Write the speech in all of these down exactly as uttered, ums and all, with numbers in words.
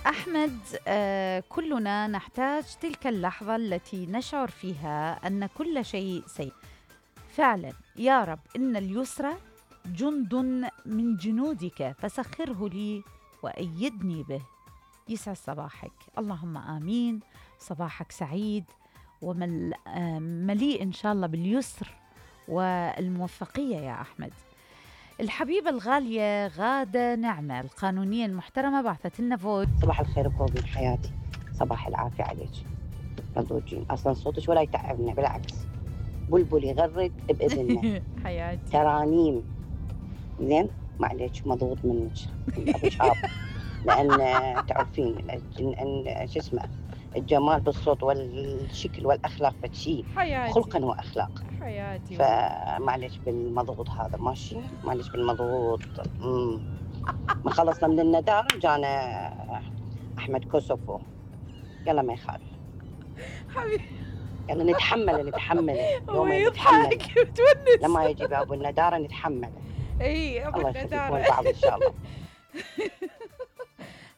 أحمد، آه كلنا نحتاج تلك اللحظة التي نشعر فيها أن كل شيء سيء. فعلا يا رب إن اليسر جند من جنودك فسخره لي وأيدني به. يسعد صباحك، اللهم آمين. صباحك سعيد ومليء إن شاء الله باليسر والموفقية يا أحمد. الحبيبة الغالية غادة نعمة القانونية المحترمة بعثت لنا فوت. صباح الخير بروبين حياتي، صباح العافية عليك. مضوجين أصلا صوتك ولا يتعبنا، بالعكس بلبل يغرد بإذننا. حياتي ترانيم زين، ما عليك مضغوط منك أبو شهاب، لأن تعرفين أن شو اسمه الجمال بالصوت والشكل والأخلاق بتشي حياتي خلقا وأخلاق. حياتي فمعليش بالمضغوط هذا ماشي، معليش بالمضغوط. امم ما خلصنا من الندار جانا أحمد كوسوفو، يلا ما يخالف حبيبي، يلا نتحمل نتحمل هو يوم يضحك نتحمل بتونس. لما يجي بابو الندارة نتحمل. اي ابو الله يخليكم الندارة لبعض إن شاء الله.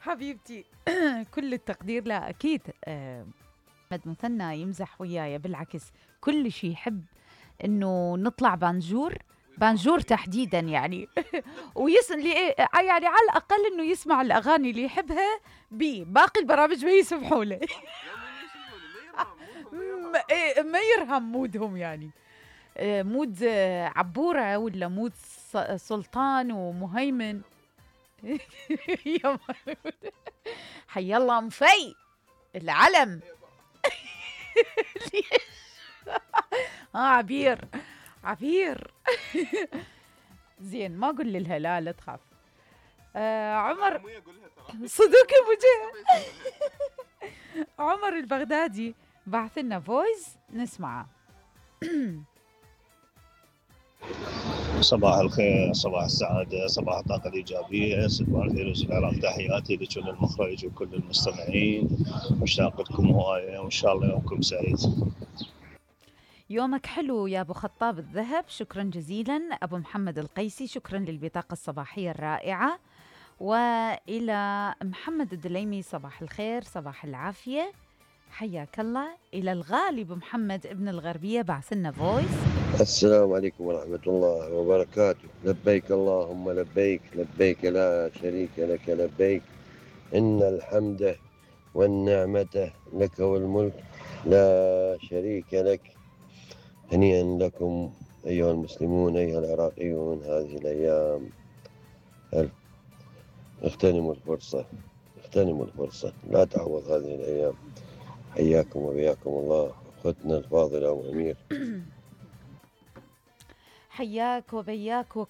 حبيبتي كل التقدير. لا أكيد آه، أحمد مثنى يمزح وياي، بالعكس كل شيء يحب إنه نطلع بانجور بانجور تحديدا يعني. ويسن لي يعني على الأقل إنه يسمع الأغاني اللي يحبها بي، باقي البرامج ما يسمحوا له. ما يرهم مودهم يعني، مود عبورة ولا مود سلطان ومهيمن. حي الله مفي العلم. اه عبير عبير. زين ما اقول لها لا لا تخاف. آه عمر صدق بوجه. عمر البغدادي بعث لنا فويس نسمعه. صباح الخير، صباح السعادة، صباح الطاقة الإيجابية، صباح الفيروس العراق. تحياتي لكل المخرج وكل المستمعين، مشتاق لكم هواية وإن شاء الله يومكم سعيد. يومك حلو يا أبو خطاب الذهب، شكرا جزيلا. أبو محمد القيسي شكرا للبطاقة الصباحية الرائعة. وإلى محمد الدليمي صباح الخير صباح العافية، حياك الله. إلى الغالب محمد ابن الغربية بعثنا فويس. السلام عليكم ورحمة الله وبركاته. لبيك اللهم لبيك، لبيك لا شريك لك لبيك، إن الحمد والنعمة لك والملك لا شريك لك. هنيئا لكم أيها المسلمون أيها العراقيون هذه الأيام. اغتنموا الفرصة، اغتنموا الفرصة، لا تعوض هذه الأيام. حياكم وبياكم الله أختنا الفاضلة وأمير. حياك وبياك وكل